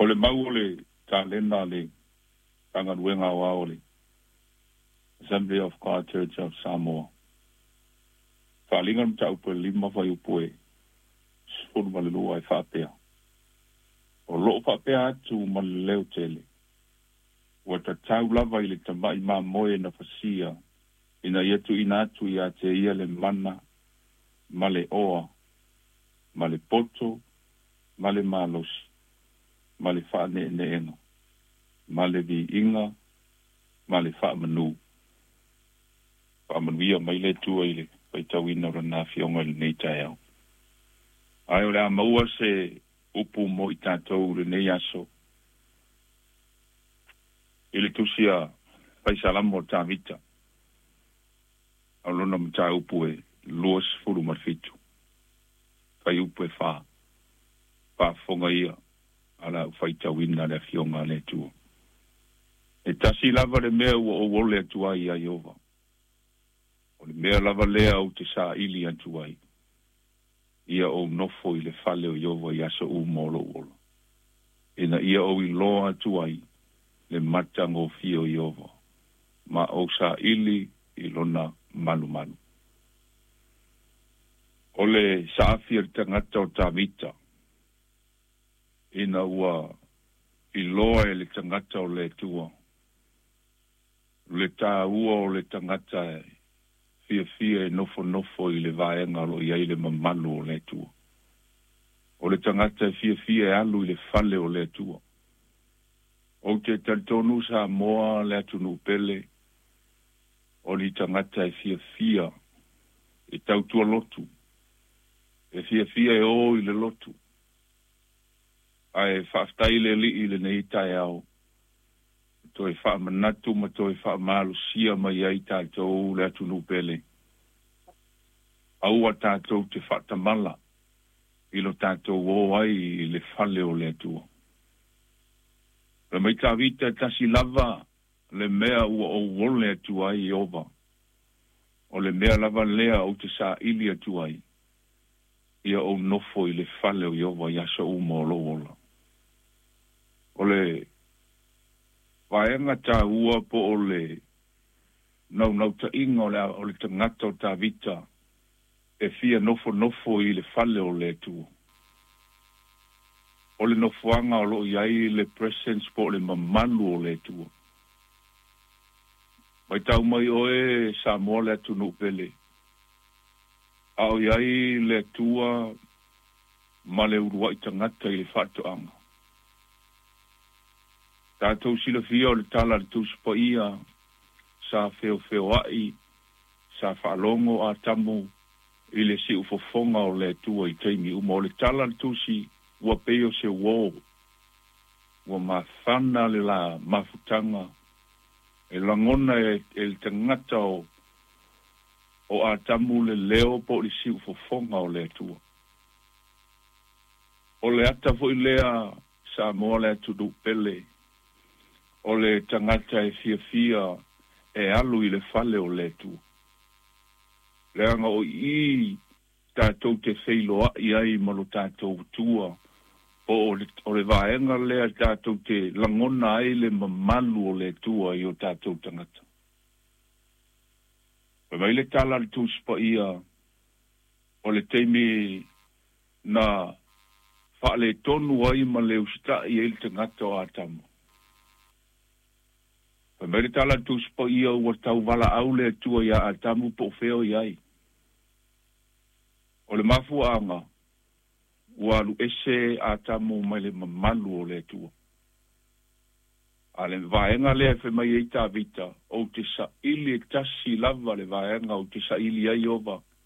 O le mau o le talena le Matagaluega Aoao o le Assembly of God Church of Samoa. Faaaliga le mataupu e 5 fuaiupu e 12 e faapea, O loo faapea atu ma le leo tele, ua tatau lava i le tama'i mamoe na fasia ina ia tuuina atu ia te ia le mana ma le oa ma le poto ma le malosi ma le faaneeneega ma le viiga ma le faamanu. Faamanuia mai le Atua i le faitauina o Lana Afioga i lenei taeao. Ae o le a maua se upu mo i tatou i lenei aso i le tusi a Faisalamo o Tavita, o lona mataupu e 27, fuaiupu e 4. Faafofoga ia a la ou faitauina le Afioga a le Atua. E tasi lava le mea ua ou ole atu ai ia Ieova, o le mea lava lea ou te saili atu ai, ia ou nofo i le fale o Ieova i aso uma o lou ola, ina ia ou iloa atu ai le matagofie o Ieova, ma ou saili i lona malumalu. O le saafi a le tagata o Tavita, ina ua iloa e le tagata o le Atua le tāua o le tagata e fiafia e nofonofo i le vaega o lo o i ai le mamalu o le Atua. O le tagata e fiafia e alu i le fale o le Atua. Ou te talitonu Samoa le atunuu pele, o ni tagata e fiafia e tautua lotu, e fiafia e o i le lotu. Ae faafetai le Alii i lenei taeao, toe faamanatu ma toe faamalosia mai ai tatou le atunuu pele. Aua tatou te faatamala i lo tatou o ai i le fale o le Atua. Le mai Tavita, tasi lava le mea ua ou ole atu ai Ieova, o le mea lava lea ou te saili atu ai, ia ou nofo i le fale o Ieova i aso uma o lou ola. O le vaega tāua po o le naunautaiga o le tagata o Tavita e fia nofonofo i le fale o le Atua, o le nofoaga o loo i ai le presence po o le mamalu o le Atua. Matau mai oe Samoa le atunuu pele, a o i ai le Atua ma le uluai tagata i le faatoaga. Tatou silafia o le tala a le Tusi Paia, sa feofeoai, sa faalogo Atamu i le siufofoga o le Atua i taimi uma. O le tala a le Tusi, ua pei o se uō, ua mafana le la mafutaga e lagona e le tagata o Atamu le leo po o le siufofoga o le Atua. O le ata foi lea Samoa le atunuu pele, o le tagata e fiafia e alu i le fale o le Atua. Leaga o i tatou te feiloai ai ma lo tatou Atua, po o le vaega lea tatou te lagona ai le mamalu o le Atua i o tatou tagata. Fai mai le tala a le Tusi Paia, o le taimi na faaletonu ai ma le usitai ai le tagata o Atamu. Fai mai le tala a le Tusi Paia, ua tauvalaau le Atua ia Atamu po o fea o i ai. O le mafuaaga, ua alu ese Atamu mai le mamalu o le Atua. A le vaega lea e fai mai ai Tavita, ou te saili e tasi lava le vaega ou te saili ai Ieova,